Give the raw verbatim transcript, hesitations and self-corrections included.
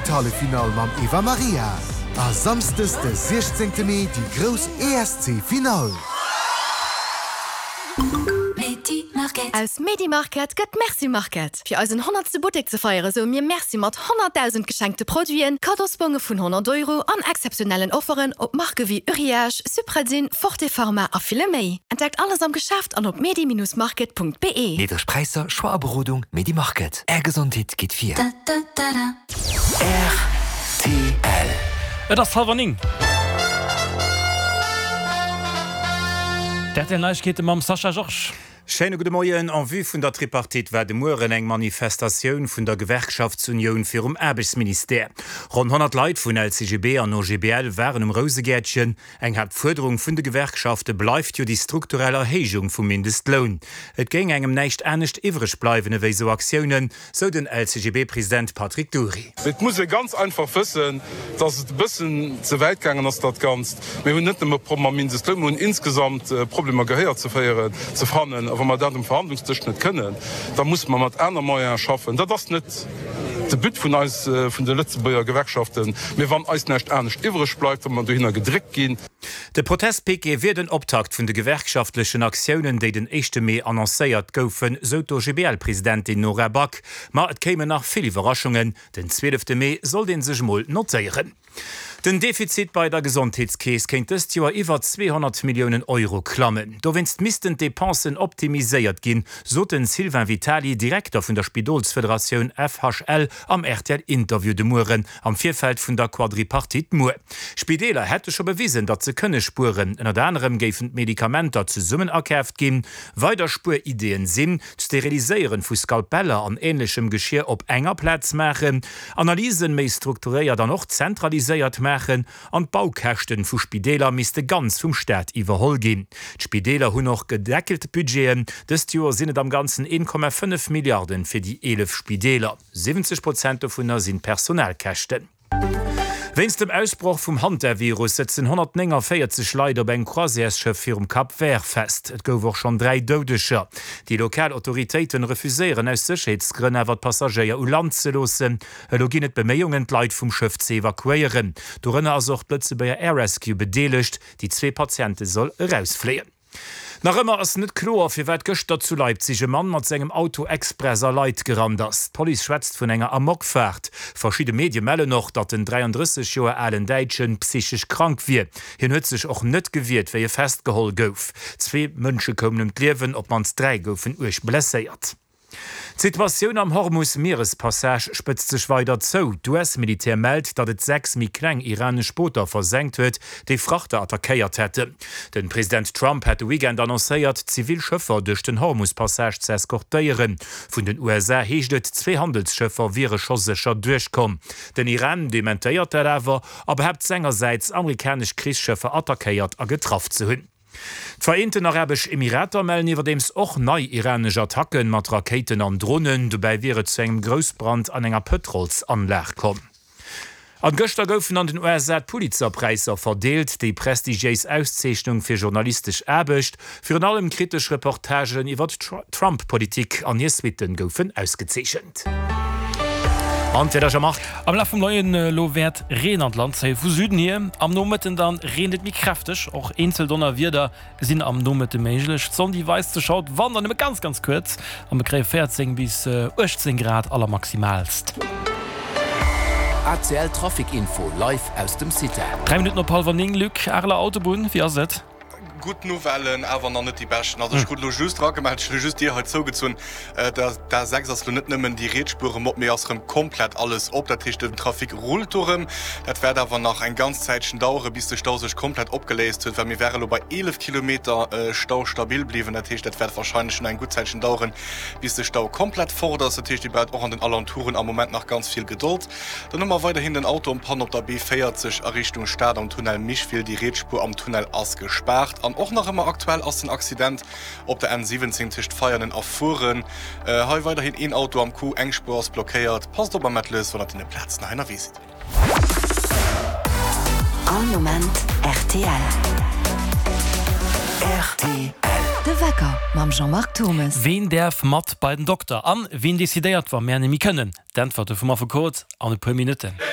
Drëttelhalleffinall mam Eva Maria a samschdes de siechzéngte Mee déi grouss E S C Finall. Aus Medi Market gëtt Merci Market. Fir eisen honnertste Buttek ze feiere soe mir Merci mat honnertdausend geschenkte Produiten, Kaddosbonge vun honnert Euro an exzeptionellen Offeren op Marke wéi Uriage, Supradyn, Forte Pharma a ville méi. Entdeckt alles am Geschäft an op medi Bindestrich market Punkt be. Niddreg Präisser, Choix a Berodung, Medi Market. Är Gesondheet geet vir. R T L. Et ass hallwer néng. D R T L Neiegkeete mam Sascha Georges. Schéine gudde Moien. En vue vun der Tripartite war de Mueren eng Manifestatioun vun der Gewerkschaftsunioun virum Aarbechtsministère. Ronn honnert Leit vun L C G B an O G B L waren um Rousegäertchen. Eng Haaptfuerderung vun de Gewerkschafte bleift jo déi strukturell Erhéijung vum Mindestloun. Et géing engem näischt anescht iwwreg bleiwen ewéi sou Aktiounen, sou den L C G B-President Patrick Dury. Et muss ee ganz einfach wëssen, dass et e bëssen ze wäit gaangen ass dat Ganzt. Mir hunn net nëmme Problemer mam Mindestloun, mir hunn insgesamt Problemer Gehéier ze féieren, ze fannen. A wa mer dat um Verhandlungsdësch net kënnen, da musse mer mat aner Moyene schaffen. Dat ass net de But vun eis, vun de Lëtzebuerger Gewerkschaften, mee wann eis näischt anescht iwwreg bleift, wa mer dohinner gedréckt ginn. De Protestpiquet wier den Optakt vun de gewerkschaftlechen Aktiounen, déi den éischte Mee annoncéiert goufen, sou d'O G B L-Presidentin Nora Back. Ma et kéimen nach vill Iwwerraschungen. Den zwielefte Mee sollt ee sech mol notéieren. Den Defizit bei der Gesondheetskeess kéint dëst Joer iwwer zweehonnert Milliounen Euro klammen. Dowéinst missten d'Depensen optimiséiert ginn, sot den Sylvain Vitali, Direkter vun der Spidolsfederatioun F H L am R T L-Interview de Mueren am Virfeld vun der Quadripartite muer. Spideeler hätte scho bewisen, datt se kënne spueren. Ënnert anerem géifen d'Medikamenter zesummen akaaft ginn. Weider Spuerideeën sinn d'Steriliséiere vu Skalpeller an änlechem Geschier op enger Plaz maachen, Analysen méi strukturéiert an och zentraliséiert maachen an d'Baukäschte vu Spideeler misste ganz vum Staat iwwerholl ginn. D'Spideeler hunn och gedeckelt Budgeten. Dëst Joer sinn et am Ganzen een Komma fënnef Milliarden fir déi eelef Spideeler. siwwenzeg Prozent dovunner sinn Personalkäschten. Wéinst dem Ausbroch vum Hantavirus sëtzen honnertnénganvéierzeg Leit op engem Croisièresschëff virum Cap Vert fest. Et gouf och schonn dräi Doudeger. Déi lokal Autoritéiten refuséieren aus Sécherheetsgrënn awer d'Passagéier u Land ze loossen. Elo ginn et Beméiungen d'Leit vum Schëff ze evakuéieren. Dorënner ass och d'Lëtzebuerger Air Rescue bedeelegt, déi zwee Patiente soll erausfléien. Nach ëmmer ass net kloer, firwat gëschter zu Leipzig e Mann mat sengem Auto express a Leit gerannt ass. D'Police schwätzt vun enger Amokfaart. Verschidde Medie mellen och, datt den dräiandrësseg Joer alen Däitschen psychesch krank wier. Hien huet sech och net gewiert, wéi e festgeholl gouf. Zwee Mënsche koumen ëm d'Liewen, op d'mannst dräi goufen uerg blesséiert. D'Situatioun am Hormus-Mierespassage spëtzt sech weider zou. D'U S-Militär mellt, datt et sechs méi kleng iranesch Booter versenkt huet, déi Frachter attackéiert hätten. De President Trump hat de Weekend annoncéiert, zivil Schëffer duerch den Hormus-Passage ze eskortéieren. Vun den U S A heescht et, zwee Handelsschëffer wiere scho sécher duerchkomm. Den Iran dementéiert dat awer a behaapt sengersäits, amerikanesch Krichsschëffer attackéiert a getraff ze hunn. D'Vereenten Arabesch Emirater mellen iwwerdeems och nei iranesch Attacke mat Rakéiten an Dronen. Dobäi wier et zu engem Groussbrand an enger Pëtrolsanlag komm. An gëschter goufen an den U S A d'Pulitzer-Präisser verdeelt, déi prestigiéis Auszeechnung fir journalistesch Aarbecht. Virun allem kritesch Reportagen iwwer d'Trump-Politik an hir Suitten goufen ausgezeechent. An d'Wieder, Jean-Marc? Am Laf vum Moien elo wäert Reen an d'Land zéie vu Süden hier. Am Nomëtten dann reent et méi kräfteg, och eenzel Donnerwieder sinn am Nomëtte méiglech. D'Sonn déi weist sech haut wann dann nëmme ganz ganz kuerz a mir kréie véierzéng bis uechtzéng Grad allermaximaalst. A C L Trafic Info live aus dem CITEL. Dräi Minutten op hallwer néng, Luc, Areler Autobunn, wéi ass et? Gutt Nouvellen, awer nach net déi beschten. Also ech krut elo just eragemellt, ech hunn elo just d'Dier hei zougezunn, d'A sechs ass elo net nëmmen déi riets Spuer erëm op, mee ass erëm komplett alles op. Dat heescht, den Trafic rullt do erëm. Dat wäert awer nach eng ganz Zäitchen daueren, bis de Stau sech komplett opgeléist huet, well mir wäre elo bei eelef Kilometer Stau stabil bliwwen. Dat heescht, dat wäert warscheinlech nach eng gutt Zäitchen daueren, bis de Stau komplett fort ass. Dat heescht, Dir braucht och an den Alentouren am Moment nach ganz vill Gedold. Dann hu mer weiderhin den Auto en panne op der B véierzeg a Richtung Stad am Tunnel Micheville. Déi riets Spuer am Tunnel ass gespaart. An och nach ëmmer aktuell ass den Accident op der N siwwenzéng tëscht Veianen a Furen. Hei weiderhin een Auto am Coup, eng Spuer ass blockéiert. Passt op am Mettles, wann der op deene Plazen hei ënnerwee sidd. All Moment R T L. R T L. De Wecker mam Jean-Marc Thommes. Ween däerf mat bei den Dokter? An wien decidéiert, wa mär net méi kënnen? D'Äntwerte vum Affekot an e puer Minutten.